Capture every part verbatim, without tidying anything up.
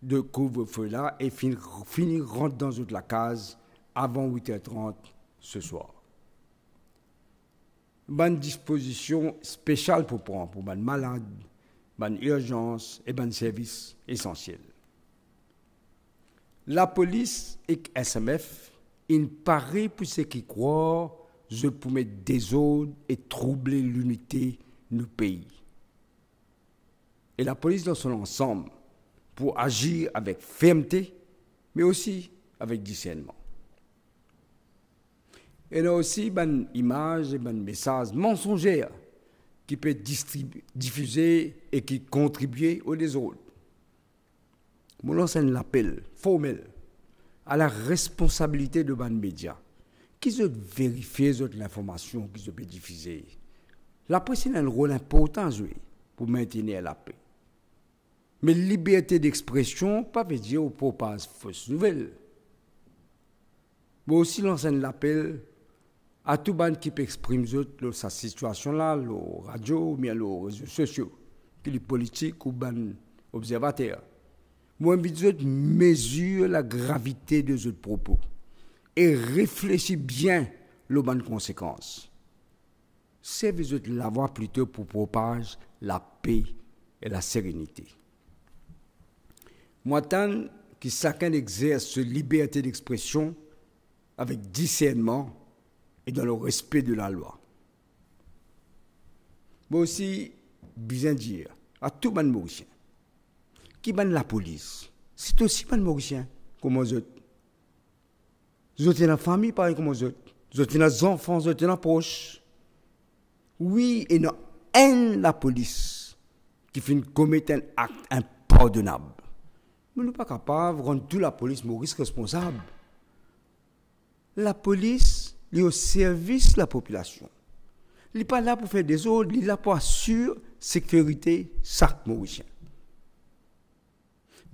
de kouvrefe la e finn, fini rant dan zot lakaz avan wit er trant seswar. Bann dispozision spesial pou pran pou bann malad, bann irzans e bann servis esansiel. Lapolis ek S M F inn pare pou seki krwar zot pou met dezord e trouble linite nou pei. E lapolis dan so lansam pou azir avek fermte, me osi avek disernman. Ena osi bann imaz e bann mesaz mansonzer ki pe distribi-, difize e ki kontribie o dezord. Mo lans enn lapel formel a laresponsabilite de bann media ki zot verifie zot linformasion ki zot pe difize. Lapres ena enn rol inportan a zwe pou mentenir lape. Me liberte dexpresion pa vedir ou propaz fos nouvel. Mo osi lans enn lapel a tou bann ki pe exprim zot lor sa sitiasion la, lor radio oubien lor rezo sosio, ki li politik ou bann obzervater. Mo invit zot mezir lagravite de zot propo e reflesi bien lor bann konsekans. Servi zot lavwa plito pou propaz lape e laserenite. Mo atann ki sakenn exers so liberte dexpresion avek disernman e dan lerespe de lalwa. Mo osi bizin dir a tou bann Morisien ki bann lapolis, se osi bann Morisien kouma zot. Zot ena fami parey kouma zot. Zot ena zanfan, zot ena pros. Wi, ena enn lapolis ki finn komet enn akt inpardonab. Me nou pa kapav rann tou lapolis Moris responsab. Lapolis, li o servis lapopilasion. Li pa la pou fer dezord, li la pou asir sekirite sak Morisien.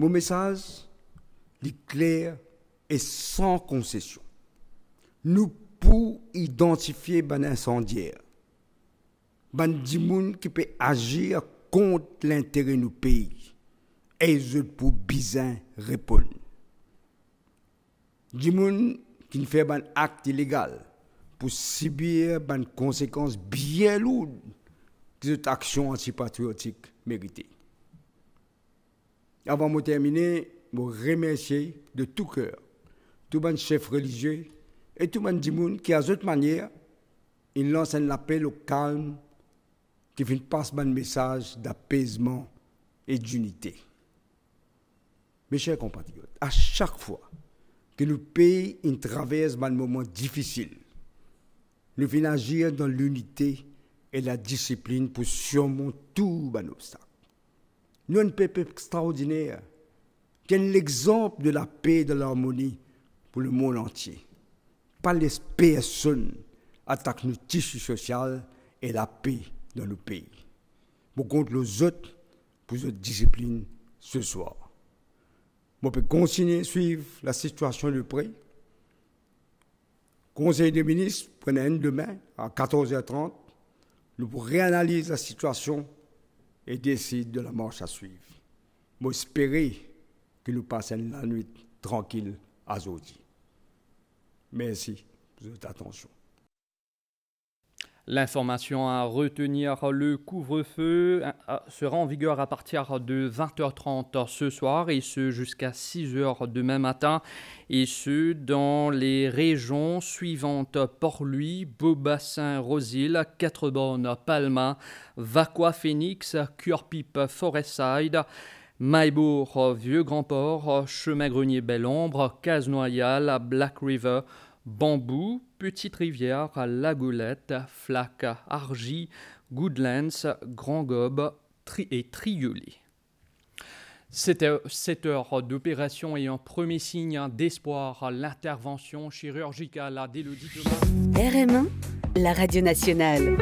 Mo mesaz, li kler e san konsesion. Nou pou idantifie bann insandier, bann dimoun ki pe azir kont lintere nou pei, e zot pou bizin reponn. Dimoun ki finn fer bann akt ilegal pou sibir bann konsekans bien lour ki zot aksion antipatriotik merite. Avan mo termine, mo remersie de tou ker tou bann sef relizie e tou bann dimoun ki, a zot manier, inn lans enn lapel o kalm, ki finn pas bann mesaz dapezman e dinite. Me ser konpatriot, a sak fwa ki nou pei inn travers bann moman difisil, nou finn azir dan linite e ladisiplinn pou sirmont tou bann obstak. Nou enn pep extraordiner, ki enn lexanp de lape e de larmoni pou lemond antie. Pa les personn atak nou tisi sosial e lape dan nou pei. Mo kont lor zot pou zot disiplinn seswar. Mo pe kontigne swiv lasitiasion de pre. Konsey de Minis pou ena enn demin a katorz er trant, nou pou reanaliz lasitiasion e desid de lamars a swiv. Mo espere ki nou pas enn lanwit trankil azordi. Mersi pou zot atansion. L'information à retenir, le couvre-feu, euh, sera en vigueur à partir de vingt heures trente ce soir et ce jusqu'à six heures demain matin, et ce dans les régions suivantes: Port-Louis, Beau-Bassin, Rose-Hill, Quatre-Bornes, Palma, Vacoas, Phoenix, Curepipe, Forestside, Mahébourg, Vieux-Grand-Port, Chemin Grenier, Belle-Ombre, Case-Noyal, Black River, Bambou, Petite-Rivière, La Goélette, Flaques, Argy, Goodlands, Grand Gobe, Tri-, et Triolet. Sept heures, sept heures d'opération et un premier signe d'espoir, l'intervention chirurgicale d'Elodie Thomas. R M un, la radio nationale.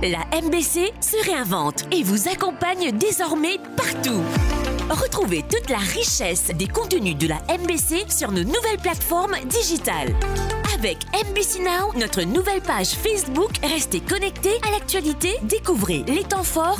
La M B C se réinvente et vous accompagne désormais partout. Retrouvez toute la richesse des contenus de la M B C sur nos nouvelles plateformes digitales. Avec M B C Now, notre nouvelle page Facebook, restez connectés à l'actualité, découvrez les temps forts